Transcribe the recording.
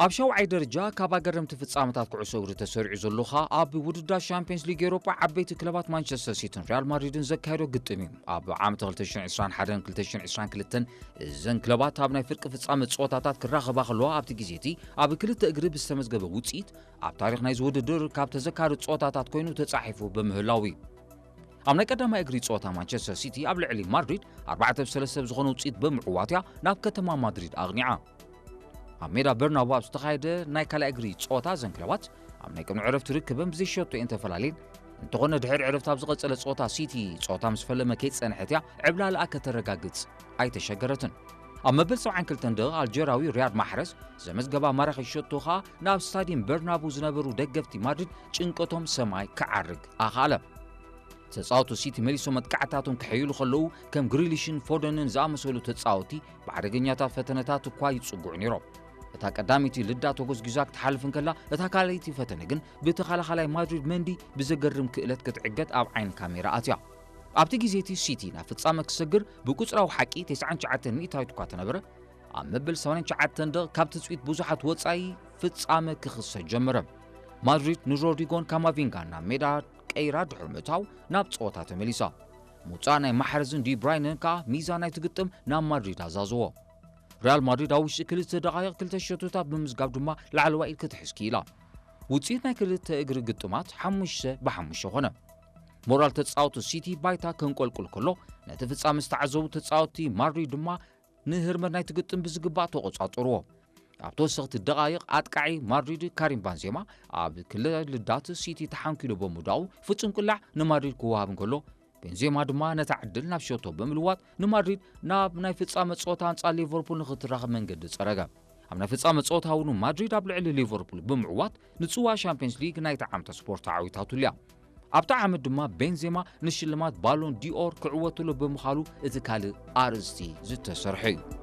ኣብ ሻውዓይ ደረጃ ካብ ኣገረምቲ ፍጻመታት ኩዕሶ እግሪ ተሰሪዑ ዘሎ ኸኣ ኣብ ውድድር ሻምፒዮንስ ሊግ ኤውሮጳ ዓበይቲ ክለባት ማንቸስተር ሲቲን ሪያል ማድሪድን ዘካየዶ ግጥም እዩ። ኣብ ዓመት ክልተ ሽሕን ዕስራን ሓደን ክልተ ሽሕን ዕስራን ክልተን እዘን ክለባት ኣብ ናይ ፍርቂ ፍጻመ ጸወታታት ክራኸባ ከለዋ ኣብቲ ግዜ እቲ ኣብ ክልተ እግሪ ብዝተመዝገበ ውጽኢት ኣብ ታሪኽ ናይዚ ውድድር ካብ ተዘካሪ ጸወታታት ኮይኑ ተጻሒፉ ብምህላው እዩ። ኣብ ናይ ቀዳማይ እግሪ ጸወታ ማንቸስተር ሲቲ ኣብ ልዕሊ ማድሪድ ኣርባዕተ ብ ሰለስተ ብዝኾነ ውጽኢት ብምዕዋት እያ ናብ ከተማ ማድሪድ ኣቕኒዓ። ኣብ ሜዳ በርናቡ ኣብ ዝተኻየደ ናይ ካልኣይ እግሪ ጸወታ እዘን ክለባት ኣብ ናይ ቅድሚ ዕረፍቲ ርክበን ብዘይሸቶ እየን ተፈላለየን። እንተኾነ ድሕሪ ዕረፍቲ ኣብ ዝቐጸለ ጸወታ ሲቲ ጸወታ ምስ ፈለመ ከይጸንሐት እያ ዕብላልኣ ከተረጋግጽ ኣይተሸገረትን። ኣብ መበል ሰብዓን ክልተን ደቂቕ ኣልጀራዊ ሪያድ ማሕረዝ ዘመዝገባ ማራኺ ሸቶ ኸኣ ናብ ስታዲየም በርናቡ ዝነበሩ ደገፍቲ ማድሪድ ጭንቀቶም ሰማይ ክዓርግ ኣኽኣለ። ተጻወቱ ሲቲ መሊሶም መጥቃዕታቶም ክሕይሉ ከለዉ ከም ግሪሊሽን ፎደንን ዝኣመሰሉ ተጻወቲ ብሓደገኛታት ፈተነታት እኳ ይጽግዑ ነይሮም። እታ ቀዳመይቲ ልዳ ተጎዝጊዛ ክትሓልፍ እንከላ እታ ካልኣይቲ ፈተነ ግን ብተኸላኻላይ ማድሪድ መንዲ ብዘገርም ክእለት ክትዕገት ኣብ ዓይኒ ካሜራ ኣትያ። ኣብቲ ግዜ እቲ ሲቲ ናብ ፍጻመ ክሰግር ብቁጽራዊ ሓቂ ተስዓን ትሽዓተን ሚእታዊት እኳ ተነበረ ኣብ መበል ሰማንያን ትሽዓተን ደቕ ካብ ትጽቢት ብዙሓት ወጻኢ ፍጻመ ክኽሰት ጀመረ። ማድሪድ ንሮድሪጎን ካማቪንጋን ናብ ሜዳ ቀይራ ድሕሪ ምእታው ናብ ጸወታ ተመሊሳ። ምውጻእ ናይ ማሕረዝን ዲብራይነን ከኣ ሚዛን ናይቲ ግጥም ናብ ማድሪድ ኣዛዘዎ። ሪያል ማድሪድ ኣብ ውሽጢ ክልተ ደቓይቕ ክልተ ሸቶታት ብምዝጋብ ድማ ላዕለዋይ ኢድ ክትሕዝ ክኢላ። ውጽኢት ናይ ክልተ እግሪ ግጥማት ሓሙሽተ ብሓሙሽተ ኾነ። ሞራል ተጻወቱ ሲቲ ባይታ ከንቆልቁል ከሎ ነቲ ፍጻመ ዝተዓዘቡ ተጻወቲ ማድሪድ ድማ ንህርመት ናይቲ ግጥም ብዝግባእ ተቖጻጸርዎ። ኣብ ተወሰኽቲ ደቓይቕ ኣጥቃዒ ማድሪድ ካሪም ባንዜማ ኣብ ክልተ ልዳት ሲቲ ተሓንኪሉ ብምውዳቑ ፍጹም ቅላዕ ንማድሪድ ክወሃብ እንከሎ ቤንዜማ ድማ ነታ ዕድል ናብ ሸቶ ብምልዋጥ ንማድሪድ ናብ ናይ ፍጻመ ጸወታ ኣንጻር ሊቨርፑል ንኽትራኸብ መንገዲ ጸረገ። ኣብ ናይ ፍጻመ ጸወታ እውን ማድሪድ ኣብ ልዕሊ ሊቨርፑል ብምዕዋት ንጽዋ ሻምፒዮንስ ሊግ ናይቲ ዓመት ስፖርት ተዓዊታትሉ እያ። ኣብቲ ዓመት ድማ ቤንዜማ ንሽልማት ባሎን ዲኦር ክዕወትሉ ብምዃሉ እቲ ካልእ ኣርእስቲ ዝተሰርሐ እዩ።